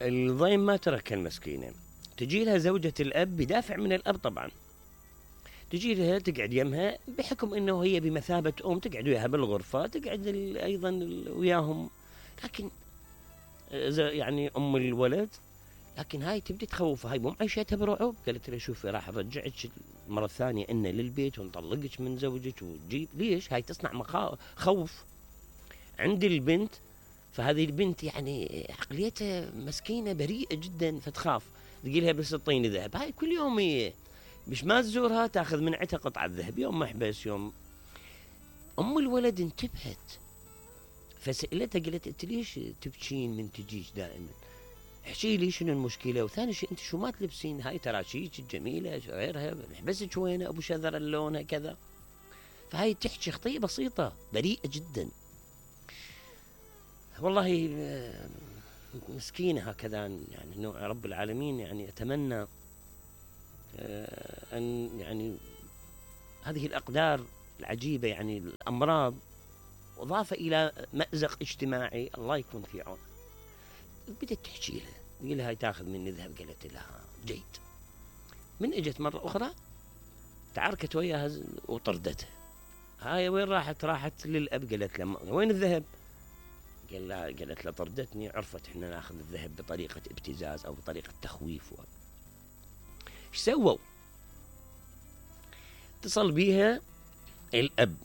الضيم ما تركها المسكينة، تجي لها زوجة الأب بدافع من الأب طبعا، تجي لها تقعد يمها بحكم انه هي بمثابة تقعد وياها بالغرفة، تقعد ايضا وياهم، لكن يعني ام الولد، لكن هاي تبدي تخوفها، هاي مو معيشتها برعب. قالت لها شوفي راح ارجعك مرة ثانية إن للبيت ونطلقك من زوجك وتجيب ليش، هاي تصنع خوف عند البنت. فهذه البنت يعني عقليتها مسكينة بريئة جدا، فتخاف، تقيلها بس اعطيني ذهب. هاي كل يوم هي مش ما تزورها تاخذ من عتها قطعة ذهب، يوم محبس يوم. ام الولد انتبهت فسألتها، قالت انت ليش تبكين من تجيش دائما، احكي لي شنو المشكله، وثاني شيء انت شو ما تلبسين، هاي تراشيك الجميله غيرها، محبسك وين ابو شذر اللون كذا. فهاي تحكي خطيه بسيطه بريئه جدا. والله مسكينه هكذا يعني، نوع رب العالمين يعني اتمنى ان يعني هذه الاقدار العجيبه، يعني الامراض اضافه الى مازق اجتماعي، الله يكون في عونه. بدت تحكي لها، قال لها هاي تاخذ مني ذهب، قالت لها جيد. من اجت مره اخرى تعاركت وياها وطردتها. هاي وين راحت؟ راحت للاب، قالت له وين الذهب؟ قالت له طردتني، عرفت احنا ناخذ الذهب بطريقه ابتزاز او بطريقه تخويف. ايش سووا؟ اتصل بيها الاب،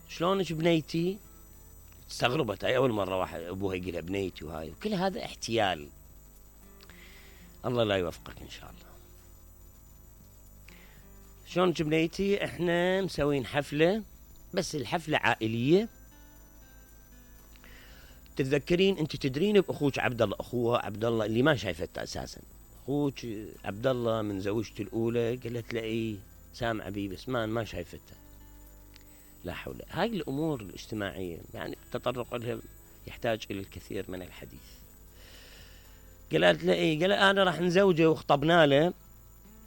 شلونك بنيتي؟ استغربت، هاي اول مره واحد ابوها يقول لها بنيتي، وهاي وكل هذا احتيال. الله لا يوفقك ان شاء الله. شلونك بنيتي؟ احنا مسوين حفله، بس الحفله عائليه. تتذكرين انت تدرين باخوك عبد الله، اخوها عبد الله اللي ما شايفته اساسا، اخوك عبد الله من زوجته الاولى؟ قالت له ايه سامعه بي بس ما شايفته. لا حول. هاي الامور الاجتماعيه يعني التطرق لها يحتاج الى الكثير من الحديث. قالت له ايه؟ قال انا راح نزوجه وخطبنا له،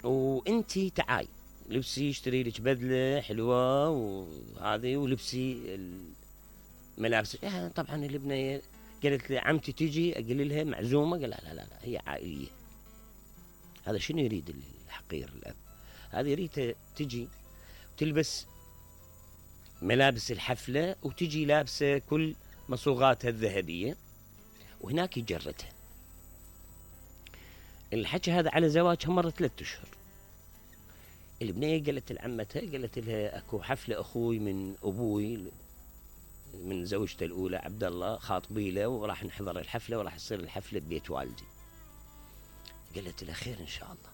وانتي تعاي لبسي اشتري لك بدله حلوه وهذه، ولبسي الملابس. طبعا الابنيه قالت لي عمتي تجي، اقول لها معزومه؟ قال لا هي عائليه. هذا شنو يريد الحقير الاب؟ هذا يريد تجي تلبس ملابس الحفله وتجي لابسه كل مصوغاتها الذهبيه، وهناك يجرتها. الحكي هذا على زواجها مر 3 أشهر. البنيه قالت لعمتها، قالت لها اكو حفله اخوي من ابوي من زوجته الاولى عبد الله خاطبي له، وراح نحضر الحفله، وراح تصير الحفله ببيت والدي. قالت لها خير ان شاء الله،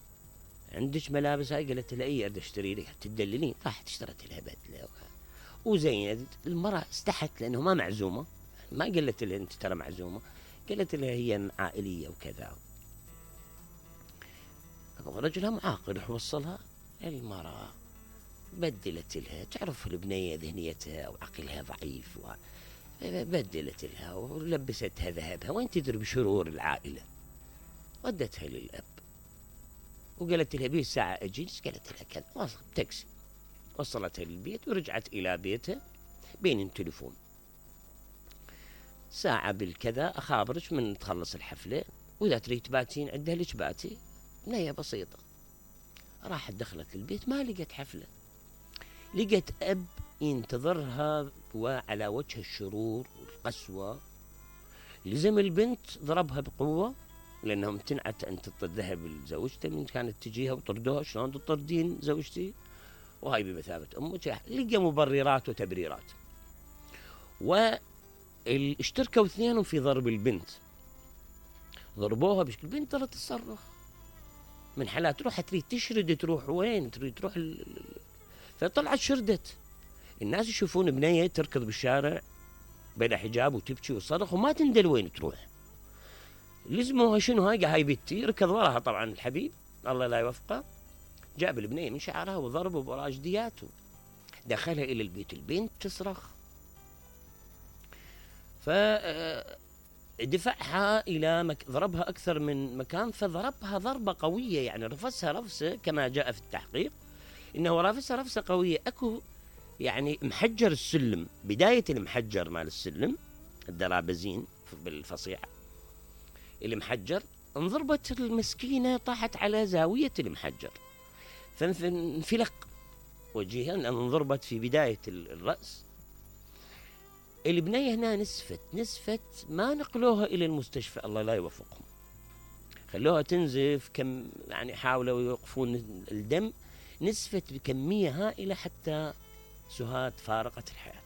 عندك ملابس هاي؟ قالت لها اي اريد اشتري لك تدللين. راحت اشترت لها بدله وزينت. المراه استحت لانه ما معزومه، ما قالت لها انت ترى معزومه، قالت لها هي عائليه وكذا. رجلها معاقل وصلها. المراه بدلت لها، تعرف البنيه ذهنيتها او عقلها ضعيف، بدلت لها ولبستها ذهبها، وين تدري بشرور العائله. ودتها للاب وقالت لها بيه ساعه اجي، قالت لها كذا، وصلت تاكسي وصلتها للبيت ورجعت الى بيتها بين التليفون. ساعه بالكذا اخابرك من تخلص الحفله، واذا تريد تباتين عندها لك باتي. بنيه بسيطه. راحت دخلت البيت ما لقت حفله، لقت اب ينتظرها وعلى وجه الشرور والقسوه. لزم البنت ضربها بقوه لانهم امتنعت ان تذهب لزوجته من كانت تجيها وطردوها. شلون تطردين زوجتي وهاي بمثابه امك؟ لقى مبررات وتبريرات، واشتركوا اثنينهم في ضرب البنت. ضربوها بشكل البنت ظلت تصرخ من حالات، تروح تريد تشرد، تروح وين؟ تريد تروح فطلعت شردت. الناس يشوفون بنيه تركض بالشارع بلا حجاب وتبكي وتصرخ وما تندل وين تروح. لزموها شنو؟ هاي بنتي. ركض وراها طبعا الحبيب الله لا يوفقه، جاب البنيه من شعرها وضربه براجدياته، دخلها الى البيت. البنت تصرخ، فدفعها الى ضربها اكثر من مكان، فضربها ضربه قويه، يعني رفسها رفسه كما جاء في التحقيق انه رافسها رفسه قويه. اكو يعني محجر السلم، بدايه المحجر مال السلم الدرابزين بالفصيحه، المحجر انضربت المسكينة، طاحت على زاوية المحجر فانفلق وجهها، لأن انضربت في بداية الرأس. البنية هنا نسفت، ما نقلوها إلى المستشفى، الله لا يوفقهم، خلوها تنزف، كم يعني حاولوا يوقفون الدم، نسفت بكمية هائلة حتى سهاد فارقت الحياة.